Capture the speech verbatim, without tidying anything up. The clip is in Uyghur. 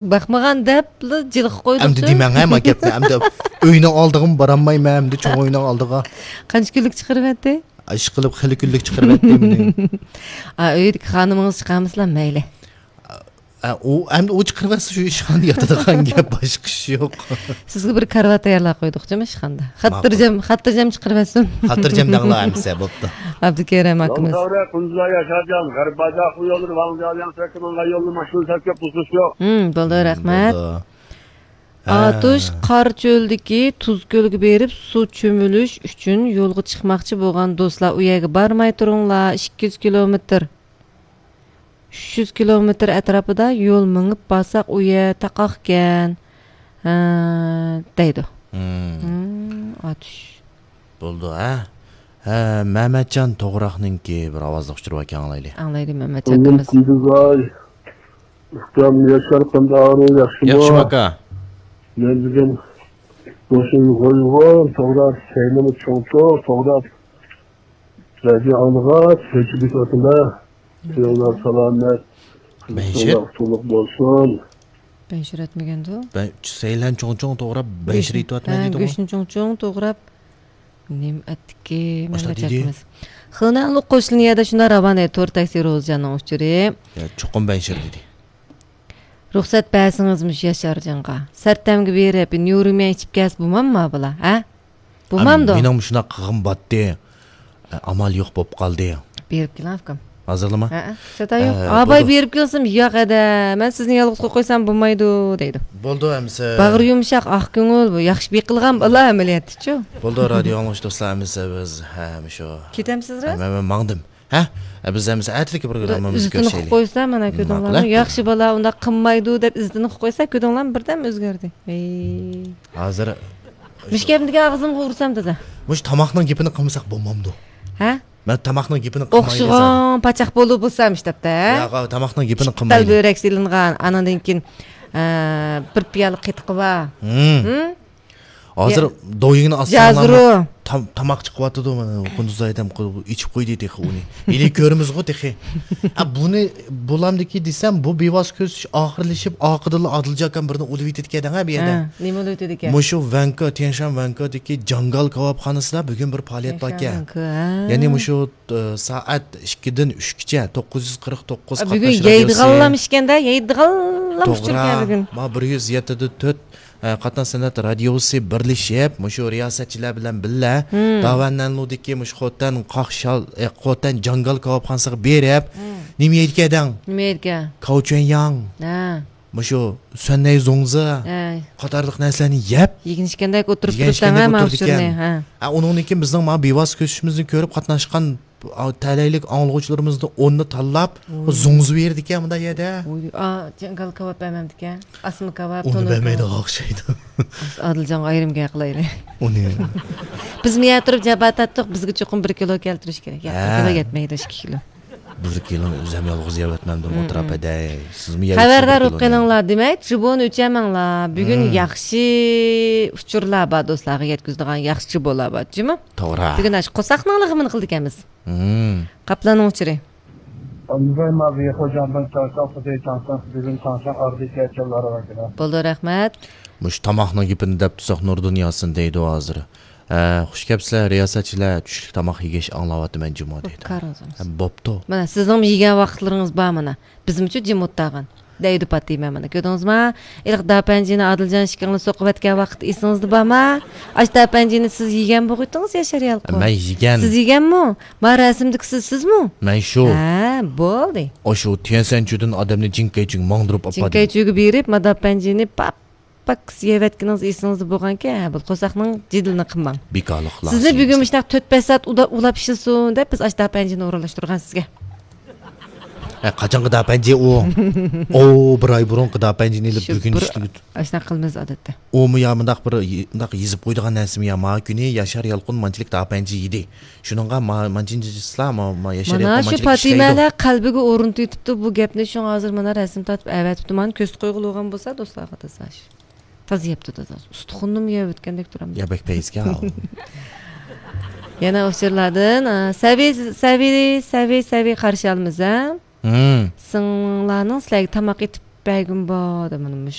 باقمىغان دەپلا جىلغا قويدۇق. ئەمدى دېمەڭ ھە ما گەپنى. ئەمدى ئۆينىڭ ئالدىغىمۇ بارالمايمەن ئەمدى چوڭ ئۆينىڭ ئالدىغا. قانچە كۈنلۈك چىقىرىۋەتتى؟ ئىشقىلىپ خېلى كۈنلۈك چىقىرىۋەتتى مېنى. ئا، ئۆيدىكى خانىمىڭىز چىقارمىسىلا مەيلى. ئا، ئۇ، ئەمدى ئۇ چىقىرىۋەتسە شۇ ئىشخانىدا ياتىدىغان گەپ، باشقا ئىش يوق. سىزگە بىر كارىۋات تەييارلاپ قويدۇق جۇمۇ ئىشخانىدا. خاتىرجەم، خاتىرجەم چىقىرىۋەتسۇن. خاتىرجەم دەڭلار ئەمىسە، بوپتۇ. ئابدۇكېرىم ئاكىمىز. سەۋرە، كۇندۇزا ياشارجان، غەرب باجاق يوللىرى، ۋاڭجياۋياڭ سەككىنىڭ يولى ماشىنا سەككە بۇزۇش يوق. ھىم، بولدى، رەھمەت. بولدى. ھە. ئاتۇش قارا چۆلدىكى تۇز كۆلگە بېرىپ سۇ چۆمۈلۈش ئۈچۈن يولغا چىقماقچى بولغان دوستلار، ئۇ يەرگە بارماي تۇرۇڭلار، ئىككى يۈز كىلومېتىر، ئۈچ يۈز كىلومېتىر ئەتراپىدا يول مېڭىپ بارساق، ئۇ يەر تاقاقكەن، ھە، دەيدۇ. ھىم. ھىم، ئاتۇش. بولدى، ھە؟ ھە، مەمەتجان توغراقنىڭكى بىر ئاۋازلىق ئۇچۇرى باركەن، ئاڭلايلى. ئاڭلايلى، مەمەتجان ئاكىمىز. ئۇكام ياشار، قانداق ئەھۋالىڭ، ياخشىمۇ؟ ياخشىمۇ، ئاكا. مەن بۈگۈن ماشىنا قويغان، توغراق سەيلىمۇ چوڭچۇڭ، توغراق رادىيو ئاڭلىغاچ، كۆچۈپ كېتىۋاتىمەن. سىزلەر سالامەت. بەنشىر؟ ئۇتۇقلۇق بولسۇن. بەنشىر ئەتمىگەندۇ؟ بەن-، سەيلەن چوڭچۇڭ توغراپ، بەنشىر ئېتىۋاتىمەن دېدىغۇ. گۆشنى چوڭچۇڭ توغراپ، نېمە ئەتتىكى، مەمەت ئاكىمىز؟ خېنەنلۇق قوشنا يەردە شۇنداق راۋان ئىدى، تور تاكسى روزىجاننىڭ ئۇچۇرى. يا، چوقۇم بەنشىر دېدى. رۇخسەت بەرسىڭىز مۇشۇ ياشارجانغا. سەرتەمگە بېرىپ، نيۇرۇميەن ئىچىپ كەلسە بولمامما بۇلار، ھە؟ بولمامدۇ؟ مېنىڭ مۇشۇنداق قىلغۇم باتتى. ئامال يوق بوپ قالدى. بېرىپ كېلىڭ، ئۇكام. ھازىرلىما؟ ھەئە. شۇنداق يوق. ئە، ئاباي بولدى. بېرىپ كەلسۇن، ياق ھەدە، مەن سىزنى يالغۇز قويۇپ قويسام بولمايدۇ، دەيدۇ. بولدى ئەمىسە. باغرى يۇمشاق، ئاق كۆڭۈل، بۇ ياخشى بېقىلغان بالا ئەمەلىيەتتىچۇ. بولدى، رادىيو ئاڭلىغۇچى دوستلار، ئەمىسە بىز، ھە، مۇشۇ. كېتەمسىزرا؟ مەن، مەن ماڭدىم. ھە؟ بىز ئەمىسە ئەتىلىكى پروگراممىمىزنى كۆرۈشەيلى. ئىززىتىنى قىلىپ قويسا، مانا كۆردۈڭلارمۇ؟ ماقۇل، ھە؟ ياخشى بالا ئۇنداق قىلمايدۇ دەپ ئىززىتىنى قىلىپ قويسا، كۆردۈڭلارمۇ؟ بىردەم ئۆزگەردى. ھەي. ھازىر مۇشۇ گەپنى دېگەن ئاغزىمغا ئۇرسام تازا. مۇشۇ تاماقنىڭ گېپىنى قىلمىساق بولمامدۇ؟ ھە؟ مەن تاماقنىڭ گېپىنى قىلماي ئوخشىغان پاچاق بولۇپ بولسام ئىشتەپتە، ھە؟ ياق، تاماقنىڭ گېپىنى قىلمايلى. بۆرەك سېلىنغان، ئانىڭدىن كېيىن، ئە، بىر پىيالە قېتىقى بار. ھىم. ھىم؟ ھازىر دويىڭنى ئاچساڭلارمۇ تام-، تاماق چىقىۋاتىدۇ، مانا، قۇندۇز ھەيدەم قۇ-، ئىچىپ قويدى تېخى ئۇنى. ھېلى كۆرىمىزغۇ تېخى. ھە، بۇنى بولامدىكى دېسەم، بۇ بىۋاسىتە كۆرۈشۈش ئاخىرلىشىپ، ئارقىدىنلا ئادىلجان ئاكام بىرنى ئۇلىۋېتىدىكەن ھە، بۇ يەردە. ھە، نېمە ئۇلىۋېتىدىكەن؟ مۇشۇ ۋەنكو، تيەنشان ۋەنكودىكى جاڭگال كاۋاپخانىسىدا بۈگۈن بىر پائالىيەت باركەن. تيەنشان ۋەنكو، ھە. يەنى مۇشۇ، ئە، سائەت ئىككىدىن ئۈچكىچە، توققۇز يۈز قىرىق توققۇز ئا، بۈگۈن قاتناش رادىيوسى. يەيدىغانلام ئىكەندە، يەيدىغانلام ئۇچۇر توغرا. بۈگۈن. ما بىر يۈز يەتتە دە تۆت، ئە، قاتناش سەنئەت رادىيوسى بىرلىشىپ، مۇشۇ رىياسەتچىلەر بىلەن بىللە، ھىم. داۋەننەنلۇدىكى مۇشۇ خوتەن قاقشال، ئە، خوتەن جاڭگال كاۋاپخانىسىغا بېرىپ، ھىم. نېمە يەيدىكەن دەڭ؟ نېمە يەيدىكەن؟ كاۋچۈەنياڭ. ھە. مۇشۇ سۈەننەي زوڭزا ھە. قاتارلىق نەرسىلەرنى يەپ، يېگىن ئىچكەندەك ئولتۇرۇپ يېگەن تۇرۇپتۇ، ئىچكەندەك ھە، ئولتۇرىدىكەن. ماۋۇ ئۇچۇرنى، ھە. ھە، ئۇنىڭدىن كېيىن بىزنىڭ مانا بىۋاسىتە كۆرۈشۈشىمىزنى كۆرۈپ قاتناشقان ئا، تەلەيلىك ئاڭلىغۇچىلىرىمىزدىن ئوننى تاللاپ، ۋوي. زوڭزا بېرىدىكەن مۇنداق يەردە. ۋوي، ئا، جاڭگال كاۋاپ بەرمەمدىكەن. ئاسما كاۋاپ، ئۇنى تونۇر بەرمەيدىغان كاۋاپ. ئوخشايدۇ. ئادىلجانغا ئايرىم گەپ قىلايلى. ئۇنى. بىز مۇيەردە تۇرۇپ جاپا تارتتۇق، بىزگە چوقۇم بىر كىلو كەلتۈرۈش كېرەك. ياق، بىر ھە. كىلو يەتمەيدۇ، ئىككى كىلو. بىر كىلونى ئۆزۈم يالغۇز يەۋەتمەمدىم، مم. ئولتۇراپ ھەدەي. سىزمۇ يەۋېتىسىز خەۋەردار بىر بولۇپ كىلونى. قېلىڭلار، دېمەك، جۇبونى ئۆچەرمەڭلار. بۈگۈن مم. ياخشى ئۇچۇرلار بار، دوستلارغا يەتكۈزىدىغان ياخشى جۇبولار بار، جۇمۇ؟ توغرا. بۈگۈن ئاشۇ قورساقنىڭ لىغىمىنى قىلىدىكەنمىز. مم. قاپلاننىڭ ئۇچۇرى. ئاندىن ما بىخو جاندىن چاڭشاڭ، خۇدەي چاڭشاڭ، بۈگۈن چاڭشاڭ ئاردى كەچەللەر ۋەكىلى. بولدى، رەھمەت. مۇشۇ تاماقنىڭ گېپىنى دەپ تۇرساق، نۇردىن ياسىن دەيدۇ ھازىر. ھە، خۇش كەپسىلەر، رىياسەتچىلەر، چۈشلۈك تاماق يېگەچ ئاڭلاۋاتىمەن جۇمۇ دەيدۇ. كارىڭىز بولسۇن. ھە، بوپتۇ. مانا، سىزنىڭمۇ يېگەن ۋاقىتلىرىڭىز بار مانا. بىزمۇچۇ جىم ئولتۇرغان. دەيدۇ پاتىمە مانا. كۆردىڭىزما؟ ھېلىقى داپەنجىنى ئادىلجان ئىككىڭلار سوقۇۋەتكەن ۋاقىت ئېسىڭىزدە بارما؟ ئاش داپەنجىنى سىز يېگەن بولغىيتىڭىز ياشار يالقۇن. مەن يېگەن. سىز يېگەنمۇ؟ ما رەسىمدىكى سىز، سىزمۇ؟ مەن شۇ. ھە، بولدى. ئاشۇ تيەنشانچۈدىن ئادەمنى جىڭكەيچۈگە ماڭدۇرۇپ ئاپاردىم. جىڭكەيچۈگە بېرىپ، ما داپەنجىنى پاپ پاككىز يەۋەتكىنىڭىز ئېسىڭىزدە بولغانكەن، ھە، بۇ قورساقنىڭ جېدىلىنى قىلماڭ. بىكارلىق سىزنى بۈگۈن مۇشۇنداق تۆت بەش سائەت ئۇدا-، ئۇلاپ ئىشلىسۇن دەپ بىز ئاش داپەنجىنى ئورۇنلاشتۇرغان سىزگە. ھە، قاچانقى داپەنجى ئۇ؟ ئۇ، بىر ئاي بۇرۇنقى داپەنجىنى ئېلىپ شۇ بۈگۈن بىر ئىشلىگۈ-، ئاشۇنداق قىلىمىز ئادەتتە. ئۇمۇ يا مۇنداق بىر ي-، مۇنداق يېزىپ قويىدىغان نەرسىمۇ يا، ما كۈنى ياشار يالقۇن مانچىلىك داپەنجى يېدى. شۇنىڭغا ما-، مانچىنچىسىلا ما-، ما-، ياشار مانا يالقۇن شۇ مانچىلىك ئىشلەيدۇ. پاتىمەلەر قەلبىگە ئورنىتىۋېتىپتۇ بۇ گەپنى، شۇڭا ھازىر مانا رەسىم تارتىپ ئەۋەتىپتۇ. مانا كۆرسىتىپ قويغىلى بولغان بولسا دوستلارغا تازا. تازا يەپتۇ، تازا. ئۇستىخۇننىمۇ يەۋەتكەندەك تۇرامدۇ. يا بەك پەيزىكەن. يەنە ئۇچۇرلاردىن، ئا، سەۋى، سەۋى، سەۋى، سەۋى قارشى ئالىمىز، ھە؟ ھىم. سىڭلىڭلارنىڭ سىلەرگە تاماق ئېتىپ بەرگۈم بار دەپ، مانا مۇشۇ